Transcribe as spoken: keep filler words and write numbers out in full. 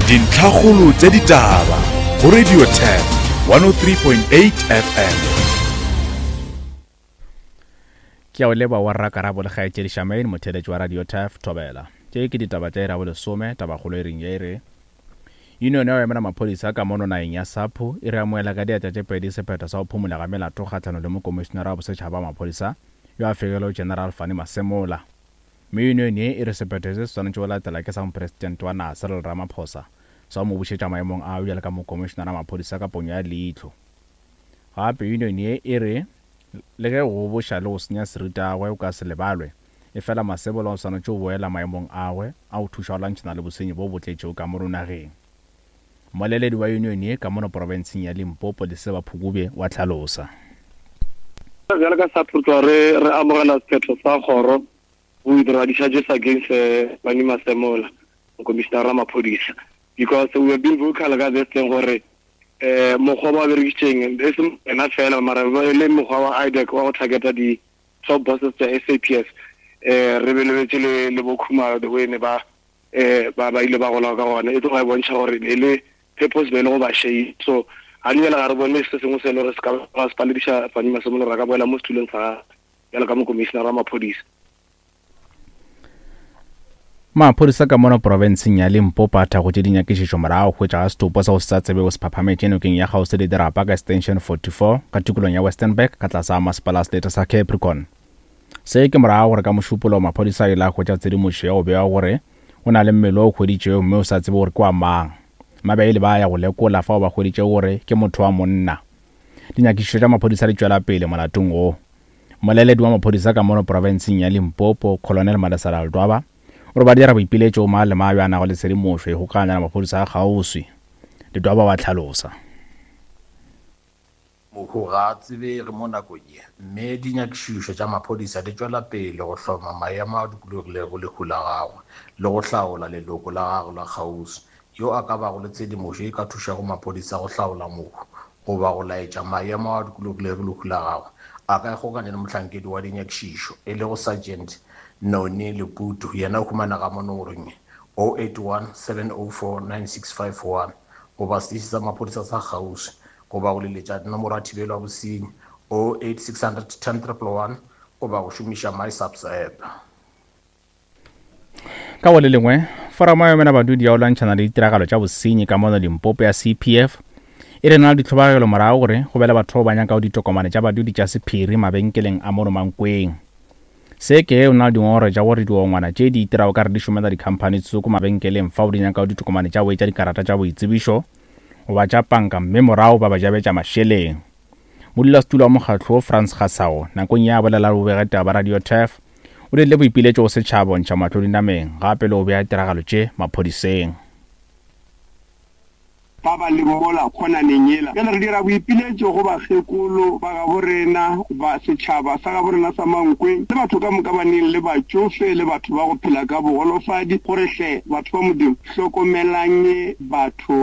Dintlhakgolo tša ditaba go Radio Turf one oh three point eight F M. Ke a o leboga wa rra Karabo le kgaetšedi Charmaine, motheeletši wa Radio Turf, Thobela. Tše ke ditaba tša iri ya bolesome, tabakgolo e reng ye e re Union ya go emela maphodisa ka mono nageng ya SAPO e re amohela ka diatla tše pedi sephetho sa go phumola ga melato kgahlanong le mokomišenara wa bosetšhaba wa maphodisa yo a fegilego General Fannie Masemola. Mme union ye e re sephetho se se swanetše go latela ke sa mopresidente wa naga Cyril Ramaphosa sa go mo bušetša maemong a bjalo ka mokomišenara wa maphodisa ka ponyo ya leihlo. Gape union ye e re le ge go goboša le go senya seriti gagwe go ka se lebalwe, efela Masemola o swanetše go boela maemong agwe a go thuša go lwantšhana le bosenyi bo bo tletšego ka mono nageng. Mmoleledi wa union ye ka mono profenseng ya Limpopo, Leseba Phukubye, wa hlalosa. Bjalo ka SAPO re tloga re re amogela sephetho sa kgoro go withdraw di-charges against Fannie Masemola, mokomišenara wa maphodisa, because we have been vocal ka this thing gore um mokgwa ba berekisitšeng e se yena fela mara e le mokgwa wa I D E C wa go targeta di-top bosses tša S A P S. um re belebetse le le bo Khumalo, the way ne ba um ba ba ile ba gola ka gona, e tloga e bontšha gore e le purpose be e le go ba shame. So ga di bjale ga re bone se sengwe se e le gore se ka ba se palediša Fannie Masemola gore a ka boela mo setulong sa gagwe bjalo ka mokomišenara wa maphodisa. Maphodisa ka mono profenseng ya Limpopo a thakgotše dinyakišišo morago hwetša ga setopo sa go se sa tsebego se phaphametše nokeng ya kgauswi le dirapa ka Extension forty-four ka tikolong ya Westenburg ka tlase ga masepala wa selete sa Capricorn. Se ke morago gore ka Mošupologo maphodisa a ile a hwetša tshedimošo ya go bewa gore o na le mmele o hweditšwego mme o sa tsebe gore ke wa mang. Mabaile ba ya go lekola fao ba hweditšego gore ke motho wa monna. Dinyakišišo tša maphodisa di tšwela pele molatong wo. Mmoleledi wa maphodisa ka mono profenseng ya Limpopo, Colonel Malesela Ledwaba, o re ba dira boipiletšo go mang le mang yo a nago le tshedimošo e kgokaganya le maphodisa a kgauswi. Ledwaba wa hlalosa. Mohu ga a tsebege mo nakong ye, mme dinyakišišo tša maphodisa di tšwela pele go hloma maemo a dikologilego lehu la gagwe le go hlaola leloko la gagwe la kgauswi. Yo a ka bago le tshedimošo e ka thušago maphodisa go hlaola mohu goba go laetša maemo a dikologilego lehu la gagwe, a ka ikgokanya le mohlankedi wa dinyakišišo e lego Sergeant Noni Leputu. Yena o humanega mo nomorong oh eight one seven oh four nine six five one goba seteše sa maphodisa sa kgauswi goba go leletša nomoro ya thibelo ya bosenyi oh eight six hundred ten triple one goba go šomiša MySAPS app. Ka go le lengwe, foramo ya emela badudi ya go lwantšhana le ditiragalo tša bosenyi ka mono Limpopo ya C P F e re na le ditlhobogelo morago gore go be le batho ba nyakago ditokomane tša badudi tša sephiri mabenkeleng a mono Mankweng. Se ke o na le dingongorego tša gore diongwana tše di itirago ka re di šomela dikhamphani tsoko mabenkeleng fao di nyakago ditokomane tša go etša dikarata tša boitsebišo goba tša panka mme morago ba ba jabetša mašeleng. Modulasetulo wa mokgatlo Frans Gasao nakong ya bolela le bobegetaba ba Radio Turf o dirile boipiletšo go setšhaba go ntšha mahlo dinameng gape le go bea tiragalo tše maphodiseng. Ba ba leng mola kgonaneng yela. Bjale re dira boipiletšo go bakgekolo ba gabo rena, ba setšhaba sa gabo rena sa Mankweng, le batho ka moka ba neng le batšofe le batho ba go phela ka bogolofadi, gore hle batho ba Modimo hlokomelang batho.